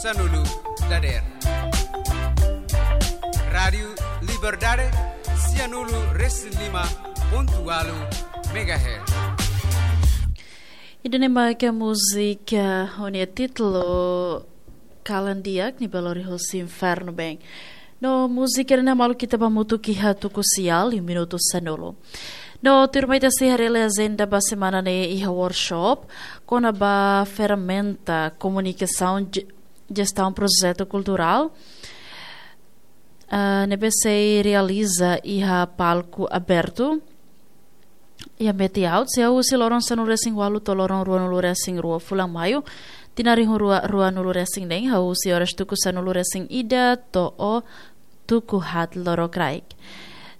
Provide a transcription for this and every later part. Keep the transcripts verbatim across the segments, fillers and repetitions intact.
Sanulu dader. Rádiu Liberdade, sianulu resin lima pontu walu megahertz. Ida-ne'e maka múzika ho nia títulu Kalan Di'ak, Nia Belo Rio Inferno Bem. No múzika ne'e malu ita ba hamutuk iha tuku sia, iha minutu sanulu. No tuirmai ita sei haree agenda ba semana ne'e iha workshop kona-ba ferramenta komunikasaun je-, jestaun projetu kulturál, ah, ne'ebé sei realiza iha palku abertu iha Meti-Aut, sei husi loron sanulu resin walu to'o loron ruanulu resin rua fulan Maiu, tinan rihun rua, ruanulu resin neen, husi oras tuku sanulu resin ida to'o tuku haat lorokraik.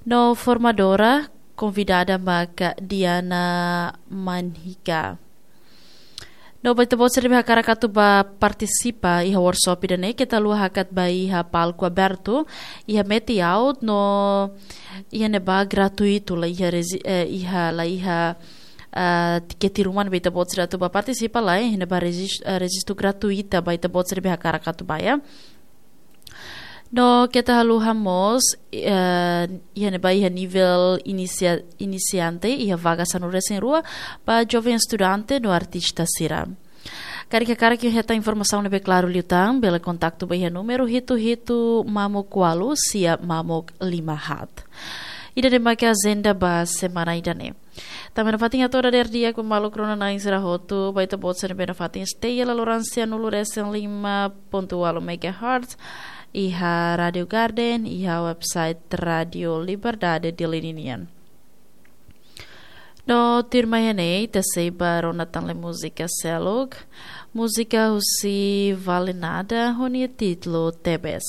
No formadora konvidada maka Diana Manhika. No ba ita-boot sira ne'ebé hakarak atu ba partisipa iha workshop ida-ne'e, keta haluha hakat ba iha palku abertu iha Meti-Aut, no iha ne'ebá gratuitu, la iha rezi-, eh, iha, la iha, ah, tikete ruma ba ita-boot sira atu ba partisipa, la iha ne'ebá rejis-, eh, rejistu gratuita ba ita-boot sira ne'ebé hakarak atu ba, ya. No keta haluha mós, eh, iha ne'ebá iha nivel inisia-, inisiante, iha vaga sanulu resin rua ba joven estudante no artista sira. Karik hakarak hetan informasaun ne'ebé klaru liután, bele kontaktu ba iha númeru hitu hitu mamuk walu sia mamuk lima haat. Ida-ne'e maka agenda ba semana ida-ne'e. Tanba nafatin hato'o dadeer di'ak ba maluk rona-na'in sira hotu, ba ita-boot sira ne'ebé nafatin stay iha laloran sianulu resin lima pontu walu megahertz, iha Rádiu Garden, iha website Rádiu Liberdade Dili ninian. No tuirmai ne'e, ita sei ba rona tan lai múzika seluk, múzika husi Vale Nada, ho nia títulu Tebes.